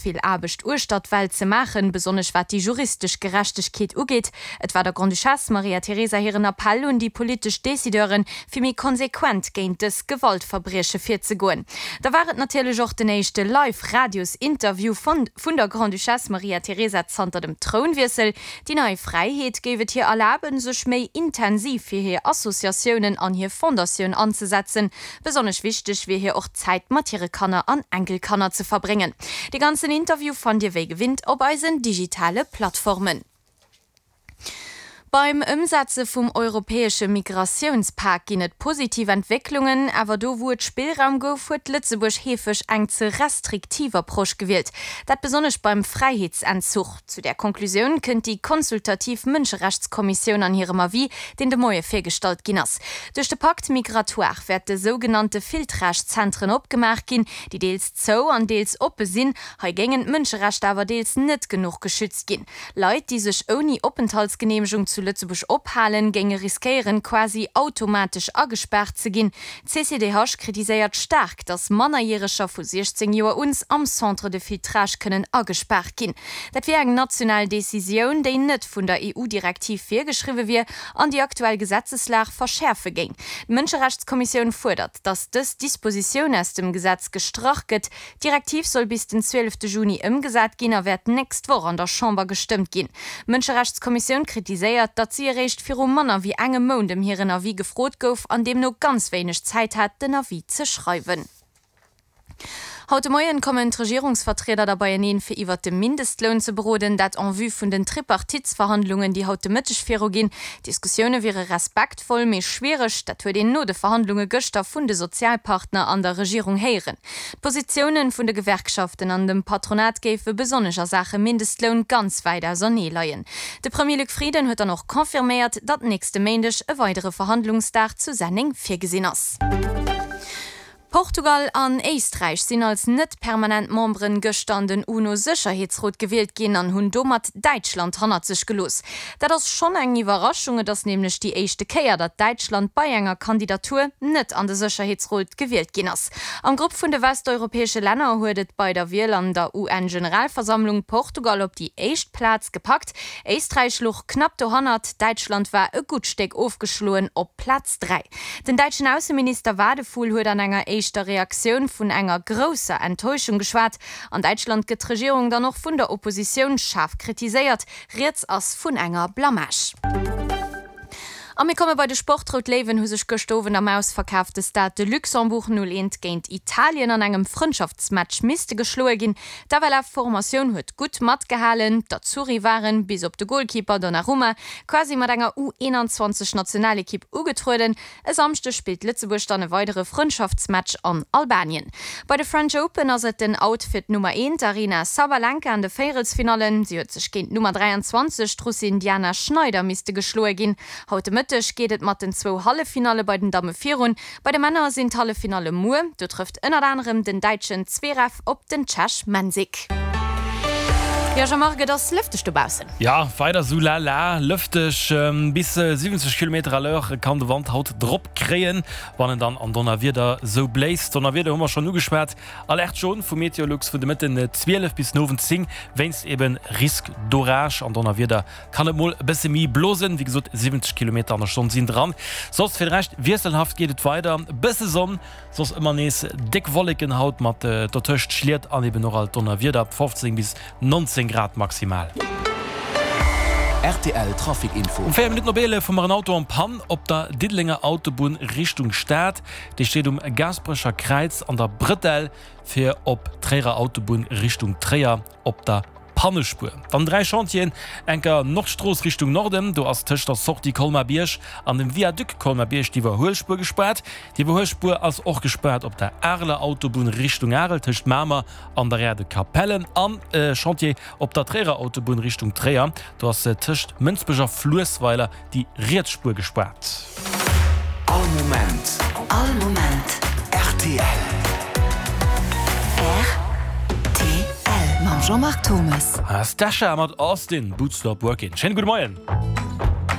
Vill Aarbecht uechter d'Welt ze maachen, besonnesch wat déi juristesch Gerechtegkeet ugeet. Et war der Grande-Duchesse Maria Teresa hiren Appell un déi politesch Decideuren, fir méi konsequent géint dës Gewaltverbrieche virzegoen. Da war et natierlech och den éischte Live-Radios-Interview vun der Grande-Duchesse Maria Teresa zanter dem Trounwiessel. Déi nei Fräiheet géif et hir erlaben, sech méi intensiv fir hir Associatiounen an hir Fondatioun anzesetzen. Besonnesch wichteg wier hir och Zäit mat hire Kanner an Enkelkanner ze verbréngen. De ganzen Interview fannt Dir wéi gewinnt op eisen digitale Plattformen. Beim Ëmsetze vum europäesche Migratiounspak ginn et positiv Entwécklungen, awer do wou et Spillraum gouf, huet Lëtzebuerg heefeg eng ze restriktiv Approche gewielt. Dat besonnesch beim Fräiheetsentzuch. Zu där Konklusioun kënnt déi consultativ Mënscherechtskommissioun an hirem Avis, deen de Moie virgestallt ginn ass. Duerch de Pacte migratoire wäerte sougenannte Filtrage-Zentren opgemaach ginn, déi deels zou an deels oppe sinn. Hei géingen d'Mënscherechter awer deels net genuch geschützt ginn. Leit, déi sech ouni Openthaltsgeneemegung zu Lëtzebuerg ophalen, géinge riskéieren, quasi automatesch agespaart ze ginn. D'CCDH kritiséiert staark, datt Mannerjäreger vu 16 Joer uns am Centre de filtrage kënnen agespaart ginn. Dat wier eng national Decisioun, déi net vun der EU-Direktiv virgeschriwwe wier an déi aktuell Gesetzeslag verschäerfe géing. D'Mënscherechtskommissioun fuerdert, datt dës Dispositioun aus dem Gesetz gestrach gëtt. D'Direktiv soll bis den 12 Juni ëmgesat ginn a wäert d'nächst Woch an der Chamber gestëmmt ginn. D'Mënscherechtskommissioun kritiséiert, datt si eréischt viru manner wéi engem Mount ëm hiren Avis gefrot gouf an deemno ganz wéineg Zäit hat, den Avis ze schreiwen. Haut de Moien kommen d'Regierungsvertrieder da beieneen, fir iwwert de Mindestloun ze beroden. Dat en vue vun den Tripartitesverhandlungen, déi haut de Mëtteg viruginn. D'Diskussioune wiere respektvoll, mee schwiereg. Dat huet een no de Verhandlunge gëschter vun de Sozialpartner an der Regierung héieren. D'Positioune vun de Gewerkschaften an dem Patronat géife besonnesch a Saache Mindestloun ganz wäit ausernee leien. De Premier Luc Frieden huet dann och confirméiert, datt nächste Méindeg e weidere Verhandlungsdag zu Senneng virgesinn ass. Portugal an Éisträich sinn als net permanent Memberen gëschter an den UNO-Sécherheetsrot gewielt ginn an hunn domat Däitschland hannert sech gelooss. Dat ass schonn eng Iwwerraschung, et ass nämlech déi éischte Kéier, datt Däitschland bei enger Kandidatur net an de Sécherheetsrot gewielt ginn ass. Am Grupp vun de westeuropäesche Länner huet et bei der Wiel an der UN-Generalversammlung Portugal op déi éischt Plaz gepackt. Éisträich luch knapp dohannert, Däitschland war e gutt Stéck ofgeschloen op Plaz 3. Den däitschen Ausseminister Wadephul huet an enger éischter Reaktioun vun enger grousser Enttäuschung geschwat. An Däitschland gëtt d'Regierung dann och vun der Oppositioun schaarf kritiséiert. Rieds ass vun enger Blamage. A mir komme bei de Sport. D'Rout Léiwen hu sech gëschter Owend am ausverkaafte Stade de Luxembourg 0, 1 géint Italien an engem Frëndschaftsmatch misste geschloe ginn. D'FLF-Formatioun huet gutt matgehalen. D'Azzurri waren, bis op de Golkeeper Donnarumma, quasi mat enger U21 Nationalekipp ugetrueden. E Samschdeg spillt Lëtzebuerg dann e weidere Frëndschaftsmatch an Albanien. Bei de French Open ass et den Out fir d'Nummer eent Aryna Sabalenka an de Véierelsfinallen. Si huet sech géint d'Nummer 23, d'Russin Diana Schneider, misste geschloe ginn. Haut de Mëtteg geet et mat den zwou Halleffinalle bei den Damme virun. Bei de Männer sinn d'Halleffinalle muer. Do trëfft ënnert anerem den Däitschen Zverev op den Tschech Mensik. Jo Jean-Marc, et ass lëfteg dobaussen. Jo, weider sou lala lëfteg. Bis 70 Kilometer à l'heure kann de Wand haut drop kréien, wann en dann an Donnerwieder sou bléist. Donnerwieder hu mer schonn ugeschwat. Alerte jaune vu Meteolux vun de Mëtten 12 bis den Owend 10 wéinst eben Risque d'orage. An Donnerwieder kann et mol e bësse méi blosen, wéi gesot 70 Kilometer an der Stonn sinn dran. Soss fir de Rescht wiesselhaft geet et weider, e bësse Sonn, Soss ëmmer nees déck Wolleken haut mat dotëscht Schliet an eben och alt Donnerwieder, 15 bis 19 Grad maximal. Rtl Trafic Info. Um 4 Minutten op 11 hu mer en Auto en Panne op der Diddelenger Autobunn Richtung Stad. Dee steet um Gaasperecher Kräiz an der Brëtell fir op d'Tréierer Autobunn Richtung Tréier. Op der Pannespuer dann 3 Chantieren, enker Nordstrooss Richtung Norden, do ass tëscht der Sortie Colmar-Bierg an dem Viaduc Colmar-Bierg d'Iwwerhuelspuer gespaart. D'Iwwerhuelspuer ass och gespaart op der Areler Autobunn Richtung Arel tëscht Mamer an der Aire de Capellen an e Chantier op der Tréierer Autobunn Richtung Tréier, do ass tëscht Mënsbech a Fluessweiler déi riets Spuer gespaart. All Moment. All Moment. Rtl. Rtl. Mam Jean-Marc Thomes. Stasha mat Austin, Boots Stop Workin'. Schéine gudde Moien.